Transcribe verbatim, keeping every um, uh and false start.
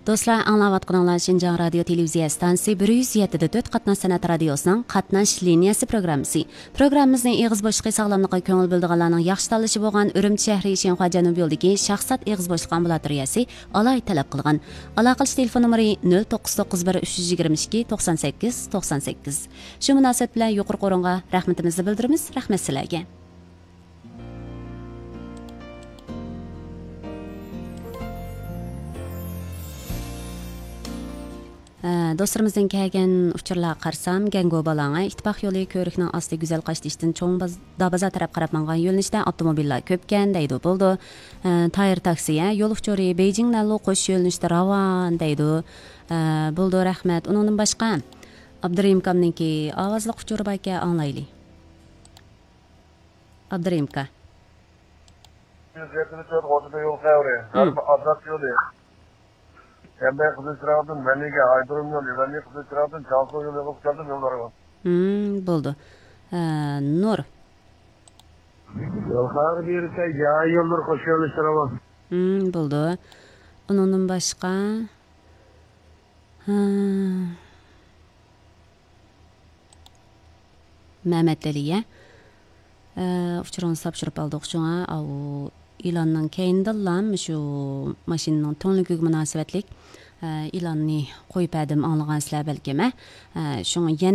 دوستلار، ئاڭلاۋاتقىنىڭلار شىنجاڭ رادىيو تېلېۋىزىيە ئىستانسىسى بىر يۈز يەتتە دە تۆت قاتناش سەنئەت رادىيوسىنىڭ قاتناش لىنىيەسى پروگراممىسى. پروگراممىمىزنى ئېغىز بوشلۇقى ساغلاملىقىغا كۆڭۈل بۆلىدىغانلارنىڭ ياخشى تاللىشى بولغان ئۈرۈمچى شەھىرى شىنخۇا جەنۇبىي يولىدىكى شاھزات ئېغىز بوشلۇق ئامبۇلاتورىيەسى ئالاھىدە تەلەپ قىلغان. ئالاقىلىشىش تېلېفون نومۇرى نۆل توققۇز توققۇز بىر ئۈچ يۈز يىگىرمە ئىككى توقسان سەككىز توقسان سەككىز. شۇ مۇناسىۋەت بىلەن يۇقىرىقى ئورۇنغا رەھمىتىمىزنى بىلدۈرىمىز. رەھمەت سىلەرگە. ئە، دوستلىرىمىزدىن كەلگەن ئۇچۇرلارغا قارىسام، گەنگو بالاڭە ئىتتىپاق يولى كۆۋرۈكنىڭ ئاستى گۈزەل قاشتېشىدىن چوڭ باز-، دابازار تەرەپ قاراپ ماڭغان يۆنىلىشتە ئاپتوموبىللار كۆپكەن دەيدۇ. بولىدۇ. ئە، تايىر تاكسى، ھە، يول ئۇچۇرى بېيجىڭ نەنلۇ قوشۇش يۆنىلىشىدە راۋان دەيدۇ. ئە، بولىدۇ، رەھمەت. ئۇنىڭدىن باشقا، ئابدۇرېھىم ئاكامنىڭكى ئاۋازلىق ئۇچۇرى باركەن، ئاڭلايلى. ئابدۇرېھىم ئاكا. يۈز يەتتە تۆت غوجىدا يول خەۋىرى. ھىم. ئازاد يولى. يەنبەي قىزىل چىراغدىن مەنىگە ئايدۇرۇم يولى، مەنىگە قىزىل چىراغدىن جاڭسۇ يولى قىلىپ كەلدىم يوللارغا. ھىم، بولدى. ئە، نۇر. يول خەۋىرى بېرىسە، يا يوللار قوش يۆنىلىشى راۋان. ھىم، بولدى. ئۇنىڭدىن باشقا، ھە. مەمەتئەلى، ئە، ئۇچۇرىڭىزنى تاپشۇرۇپ ئالدۇق شۇڭا، ئاۋۇ ئېلاننىڭ كەينىدىنلا مۇشۇ ماشىنىنىڭ تۈڭلۈكىگە مۇناسىۋەتلىك، ئە، ئېلاننى قويۇپ بەردىم، ئاڭلىغانسىلەر بەلكىم، ئە. ئە، شۇڭا يەنە